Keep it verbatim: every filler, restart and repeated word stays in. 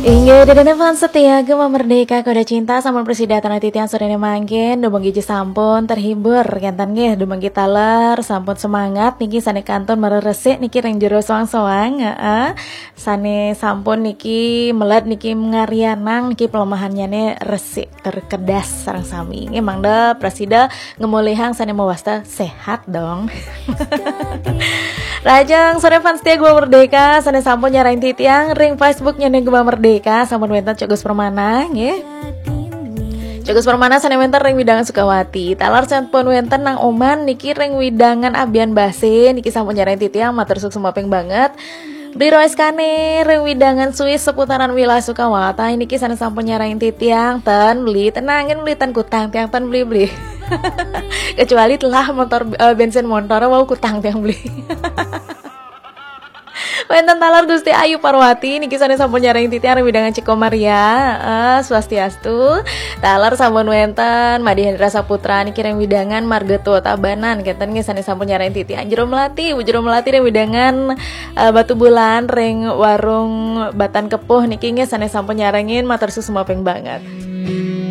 Inggih, dene fans setia Gema Merdeka Koda Cinta, sampun prasida titiang sorene mangkin, dumugi sampun terhibur, kenten nggih, dumugi taler sampun semangat niki sane kantun marer resik niki ring jero soang-soang, heeh. Sane sampun niki melet niki ngarianang niki pelemahannyane resik terkedas sareng sami. Nggih, mangda prasida ngemolihang sane mawasta sehat dong. Rahajeng sore fans setia Gema Merdeka, sane sampun nyarengin titiang ring Facebooknya Gema Merdeka, sampun wenten Cok Gus Permana, nggih. Cok Gus Permana sane wenten ring wewidangan Sukawati. Taler sampun wenten Nang Oman niki ring wewidangan Abian Base, niki sampun nyarengin titiang, matur suksma ping banget. Beli Rois Kane ring wewidangan Swiss seputaran wilayah Sukawati niki sane sampun nyarengin titiang, ten beli, tenangin beli, ten kutang tiang, ten beli, beli. Kecuali telah motor, eh, bensin motor wau kutang tiang beli. Wenten taler Gusti Ayu Parwati niki sane sampun nyarengin titiang ring wewidangan Ciko Maria. Eh, swastiastu. Taler sampun wenten Madhi Hendra Saputra niki ring wewidangan Marga Tua Tabanan, kenten nggih sane sampun nyarengin titiang. Jero Melati, Bu Jero Melati ring wewidangan, eh, Batubulan ring warung Batan Kepuh niki nggih sane sampun nyarengin, matur suksma ping banget.